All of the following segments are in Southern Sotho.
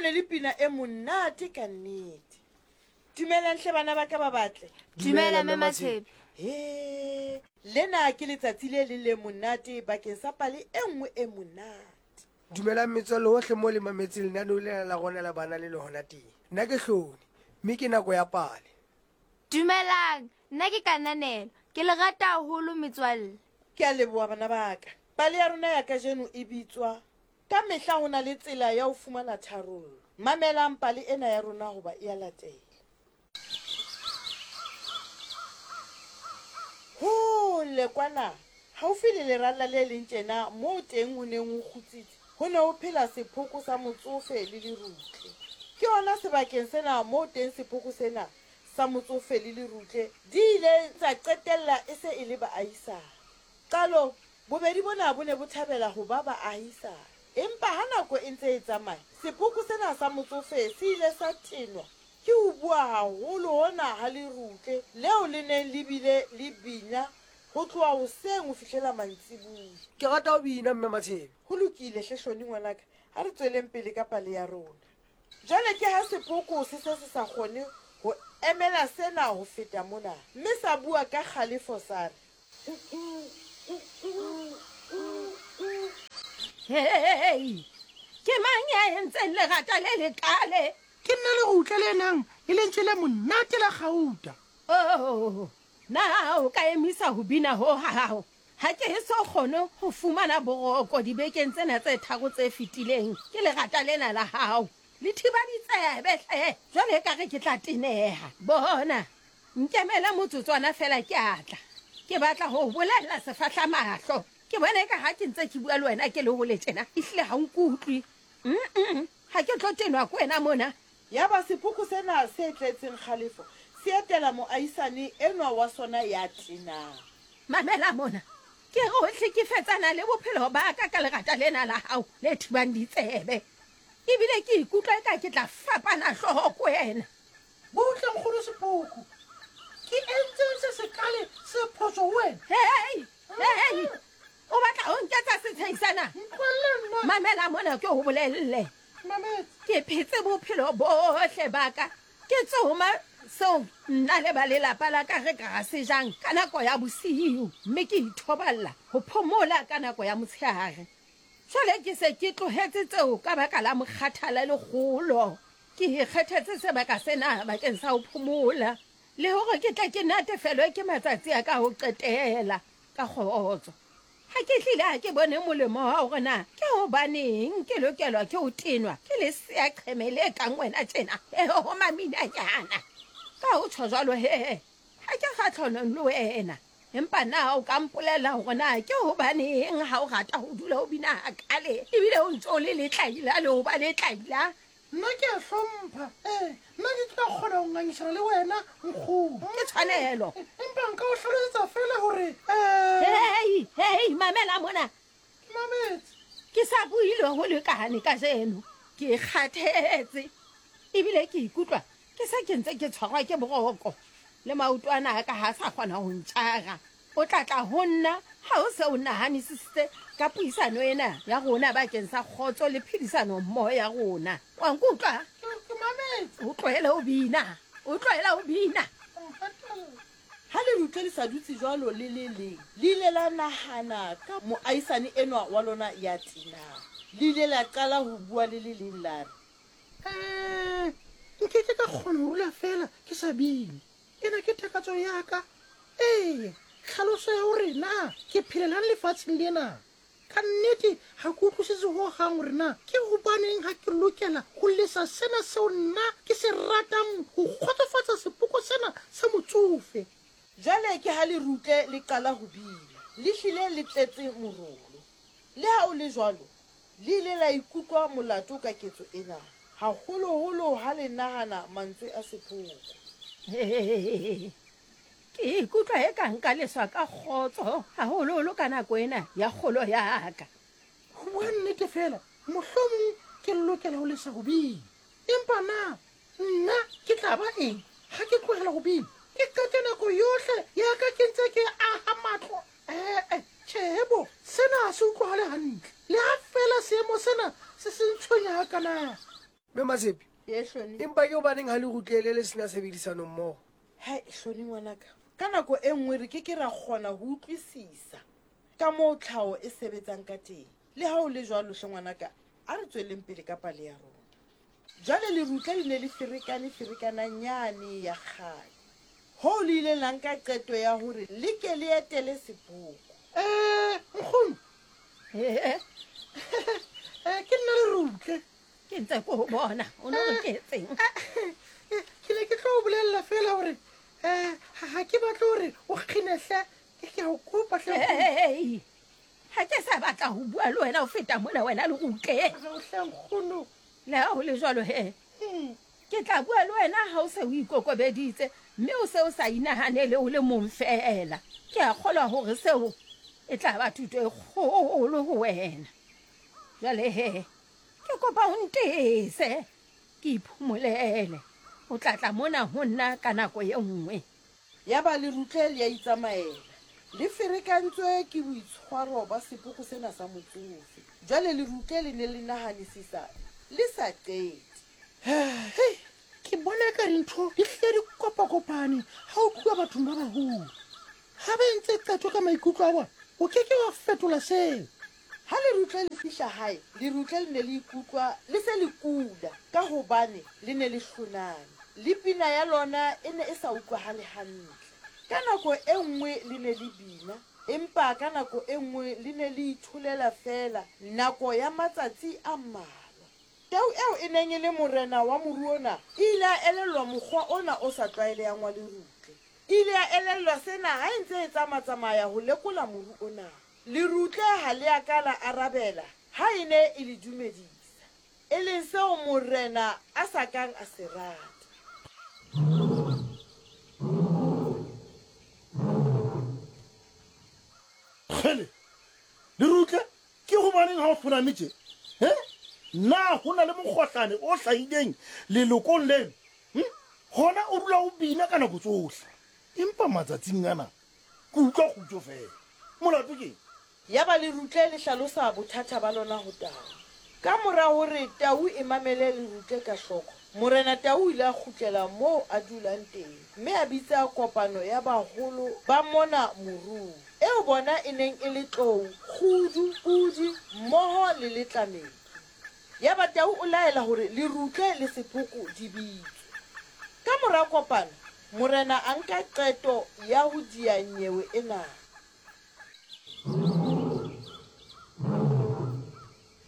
ne le pina e monate ka nnete. Dumelang hle bana ba ka ba batle. Dumela Mme Matshepe. He, lena ke letsatsi le leng le monate bakeng sa pale e nngwe e monate. Dumelang metswalle hohle mo le mametseng lenaneo lena la rona la bana le le hona teng. Nna ke Hloni, mme ke nako ya pale. Dumelang, nna ke Kananelo. Ke le rata haholo metswalle. Ke a leboha bana ba ka. Pale ya rona ya kajeno e bitswa Ka mehla ho na le tsela ya ho fumana tharollo. Mamelang pale ena ya rona hoba e a latela. Hole kwana, haufi le leralla le leng tjena moo teng ho neng ho kgutsitse, ho ne ho phela sephoko sa motsofe le lerutle. Ke hona sebakeng sena moo teng sephoko sena sa motsofe le lerutle di ileng tsa qetella e se e le baahisane. Qalong, bobedi bona bo ne bo thabela ho ba baahisane. Empa ha nako e ntse e tsamaya, sepoko sena sa motsofe se ile sa tenwa ke ho bua haholo hona ha lerutle leo le neng le bile le bina ho tloha hoseng ho fihlela mantsiboya. Ke rata ho bina, Mme Matshebe. Ho lokile hle, Hloni ngwanaka, ha re tsweleng pele ka pale ya rona. Jwale ke ha sepoko se se se sa kgone ho emela sena ho feta mona, mme sa bua ka kgalefo sa re. Hei, ke mang ya entseng lerata le lekaale? Ke nna lerutla le nang le lentswe le monate la kgauta. Oh, na o ka emisa ho bina ho ha hao? Ha ke eso kgone ho fumana boroko dibekeng tsena tse tharo tse fetileng ke lerata lena la hao. Le thiba ditsebe hle, jwale ekare ke tla teneha. Bona, Nkemele motsotswana feela ke a tla. Ke batla ho o bolella sefahlamahlo. Ke bona eka ha ke ntse ke bua le wena ke le hole tjena, ehlile ha o nkutlwe. Mm-mm, ha ke tlo tenwa ke wena mona. Yaba sephoko sena se tletseng kgalefo se etela moahisane enwa wa sona ya tenang. Mamela mona, ke re o hlekefetsana le bophelo ba ka ka lerata lena la hao le thibang ditsebe. Ebile ke ikutlwa eka ke tla fapana hlooho ke wena. Butle, Nkgono Sepoko. Ke entseng se sekale se phoso ho wena? Hei, hei, o batla ho nketsa setsheisa na? Ntlohelle nna. Mamela mona ke ho bolelle. Mametse. Ke phetse bophelo bohle ba ka ke tsoma seo nna le ba lelapa la ka re ka se jang ka nako ya bosiu, mme ke ithoballa ho phomola ka nako ya motshehare. Jwale ke se ke tlohetse tseo ka baka la mokgathala le kgolo. Ke ikgethetse sebaka sena bakeng sa ho phomola le hore ke tle ke natefelwe ke matsatsi a ka ho qetela ka kgotso. Ha ke hlile ha ke bone molemo wa hore na ke hobaneng ke lokelwa ke ho tenwa ke leseaqheme le kang wena tjena. Ho maminanyana. Ka ho tjho jwalo he, ha ke kgahlonong le wena. Empa na o ka mpolella hore na ke hobaneng ha o rata ho dula o bina hakale ebile o ntse o le letlaila le ho ba letlaila? Nna ke a hlompha. Ee, nna ke tla kgona ho ngangisana le wena, nkgono. Ke tshwanelo. Empa nka o hlalosetsa feela hore um. Hei, hei, mamela mona. Ke mametse. Ke sa buile ho lekane kajeno. Ke kgathetse ebile ke ikutlwa Ke se ke ntse ke tshwarwa ke boroko, le maoto ana a ka ha a sa kgona ho ntjara. O tla tla ho nna ha o se o nahanisisitse ka puisano ena ya rona bakeng sa kgotso le phedisano mmoho ya rona. Wa nkutlwa? Ke mametse. O tlohele ho bina. O tlohele ho bina. O nkgatella. Ha lerutle le sa dutse jwalo le le leng, le ile la nahana ka moahisane enwa wa lona ya tenang. Le ile la qala ho bua le le leng la re, Ee, nkeke ka kgona ho dula feela ke sa bine. Ena ke takatso ya ka. Ee, tlhaloso ya hore na ke phelelang lefatsheng lena. Ka nnete ga ke utlwisise ho hang hore na ke hobaneng ha ke lokela ho lesa sena seo nna ke se ratang ho kgotsofatsa sepoko sena sa motsofe. Jwale ke ha lerutle le qala ho bina. Le hlile le tletse morolo. Le ha o le jwalo, Le ile la ikutlwa molato ka ketso ena, haholoholo ha le nahana mantswe a sephoko. Ee, ke ikutlwa eka nka leswa ka kgotso, haholoholo ka nako ena ya kgolo ya ka. Ho bua nnete feela, mohlomong ke lokela ho lesa ho bina. Empa na nna ke tla ba eng ha ke tlohela ho bina? Ke qete nako yohle ya ka ke ntse ke aha matlo? Ee, tjhe bo, sena ha se utlwahale hantle. Le ha feela seemo sena se se ntshwenya hakana. Mme Matshepe, Ye, Hloni. empa ke hobaneng ha le rutlele le sena tshebedisano mmoho? Hai, Hloni ngwanaka, ka nako e nngwe re ke ke ra kgona ho utlwisisa ka moo tlhaho e sebetsang ka teng. Le ha ho le jwalo hle ngwanaka, a re tsweleng pele ka pale ya rona. Jwale lerutla le ne le ferekane ferekananyane ya kgale, hoo le ileng la nka qeto ya hore le ke le etele sepoko. Eh, nkgono. Ee. Eh, ke nna lerutle. Ke ntse ko ho bona, o no re ke etseng? Eh, ke ne ke tlo o bolelela fela hore eh ha ke batle hore o kginehle, ke a o kopa hle. Hey, ha ke sa batla ho bua le wena ho feta mona wena lerutle. Re o hle nkgono. Le ha ho le jwalo he, ke tla bua le wena ha o se o ikokobeditse mme o se o sa inahanele o le mong feela. Ke a kgolwa hore seo e tla ba thuto e kgolo ho wena. Jwale he, ke kopa o ntese ke iphomolele. O tla tla mona ho nna ka nako e nngwe. Yaba lerutle le a itsamaela, le ferekantswe ke boitshwaro ba sepoko sena sa motsofe. Jwale lerutle le ne le nahanisisa le sa qete. Hei, ke bona eka dintho di hlile di kopakopane ha o tluwa bathong ba baholo. Ha ba entse qeto ka maikutlo a bona, o ke ke wa fetola seo. Ha lerutle le fihla hae, lerutle le ne le ikutlwa le se le kula ka hobane le ne le hloname, le pina ya lona e ne e sa utlwahale hantle. Ka nako e nngwe le ne le bina, empa ka nako e nngwe le ne le itholela feela nako ya matsatsi a mmalwa. Tau eo e neng e le morena wa moru ona e ile ya elellwa mokgwa ona o sa tlwaelehang wa lerutle. E ile ya elellwa sena ha e ntse e tsamatsamaya ho lekola moru ona. Lerutle ha le a ka la arabela ha e ne e le dumedisa, e leng seo morena a sa kang a se rata. Kgele, Lerutle, ke hobaneng ha o hloname tje? He? Na ho na le mokgohlane o hlahileng lelokong leno? Hm? Hona o dula o bina ka nako tsohle. Empa matsatsing ana Ke utlwa kgutso feela. Molato keng? Yaba Lerutle le hlalosa bothata ba lona ho Tau. Ka mora hore Tau e mamele Lerutle ka hloko, Morena Tau o ile a kgutlela moo a dulang teng mme a bitsa kopano ya baholo ba mona morung, eo bona e neng e le Tlou, Kgudu, Pudi mmoho le Letlametsu. Yaba Tau o laela hore Lerutle le Sephoko di bitswe. Ka mora kopano, Morena a nka qeto ya ho diya nyewe ena.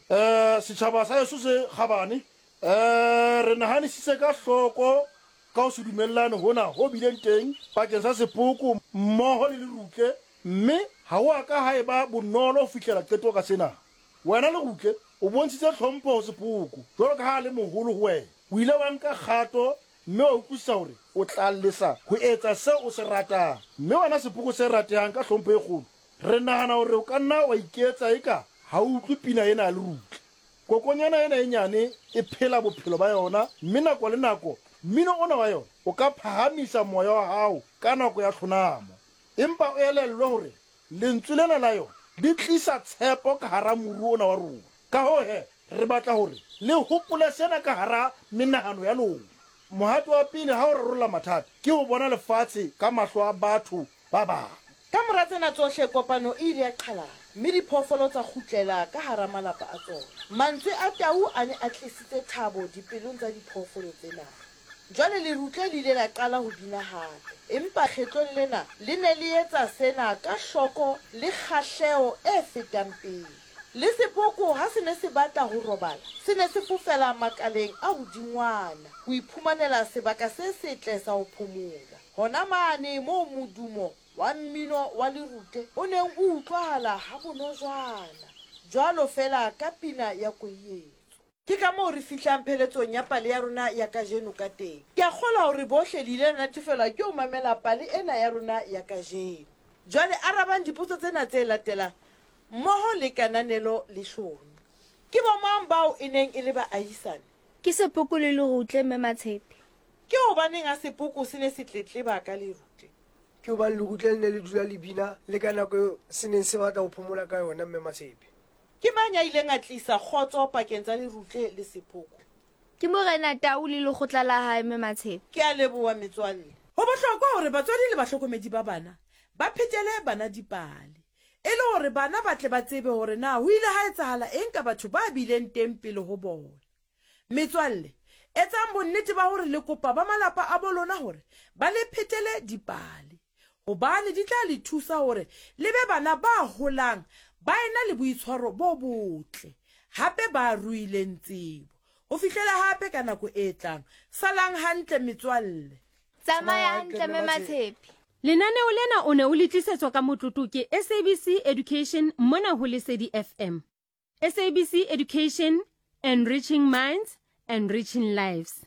Eh, setšhaba sa heso se kgabane, eh, re nahanisise ka hloko ka ho se dumellane hona ho bileng teng pakeng sa sepoko mmoho le lerutle, mme ha ho a ka ha eba bonolo ho fihlela qeto ka sena. Wena lerutle, o bontshitse tlhompho ho sepoko jwalo ka ha a le moholo ho wena. O ile wa nka kgato mme wa utlwisisa hore o tla lesa ho etsa seo o se ratang. Mme wena sepoko se ratehang ka hlompho e kgolo, re nahana hore o ka nna wa iketsa eka ha o utlwe pina ena ya lerutla. Kokonyana ena e nyane e phela bophelo ba yona mme nako le nako mmino ona wa yona o ka phahamisa moya wa hao ka nako ya tlhonamo. Empa o elellwe hore Lentswe lena la yona le tlisa tshepo ka hara moru ona wa rona. Ka hoo he, re batla hore le hopole sena ka hara menahano ya lona. Mohato wa pele ha o rarolla mathata ke ho bona lefatshe ka mahlo a batho ba bang. Ka mora tsena tsohle, kopano e ile ya qhalana, mme diphoofolo tsa kgutlela ka hara malapa a tsona. Mantswe a tau a ne a tlisitse thabo dipelong tsa diphoofolo tsena. Jwale lerutle le ile la qala ho bina hape, empa kgetlong lena le ne le etsa sena ka hloko le kgahleho e fetang pele. Le sepoko ha se ne se batla ho robala, se ne se fofela makaleng a hodingwana ho iphumanela sebaka se setle sa ho phomola. Hona mane moo modumo wa mmino wa lerutle o neng o utlwahala habonojwana, jwalo feela ka pina ya koietso. Ke ka moo re fihlang pheletsong ya pale ya rona ya kajeno ka teng. Ke a kgolwa hore bohle le ile la natefelwa ke ho mamela pale ena ya rona ya kajeno. Jwale arabang dipotso tsena tse latelang mmoho le kananelo le Hlomi. Ke bomang bao e neng e le baahisane? Ke Sepoko le Lerutle, Mme Matshepe. Ke hobaneng ha Sepoko se ne se tletleba ka Lerutle? Ke hobane Lerutle le ne le dula le bina le ka nako eo se neng se batla ho phomola ka yona, Mme Matshepe. Ke mang ya ileng a tlisa kgotso pakeng tsa Lerutle le Sepoko? Ke Morena Tau le lekgotla la hae, Mme Matshepe. Ke a leboha, metswalle. Ho bohlokwa hore batswadi le bahlokomedi ba bana ba phetele bana dipale e le hore bana ba tle ba tsebe hore na ho ile ha etsahala eng ka batho ba bileng teng pele ho bona. Metswalle, etsang bonnete ba hore le kopa ba malapa a bo lona hore ba le phetele dipale, hobane di tla le thusa hore le be bana ba holang ba ena le boitshwaro bo botle hape ba ruileng tsebo. Ho fihlela hape ka nako e tlang, salang hantle metswalle. Tsamaya hantle Mme Matshepe. Lenaneo lena o ne o le tlisetswa ka motlotlo ke SABC Education mona ho Lesedi FM. SABC Education, enriching minds, enriching lives.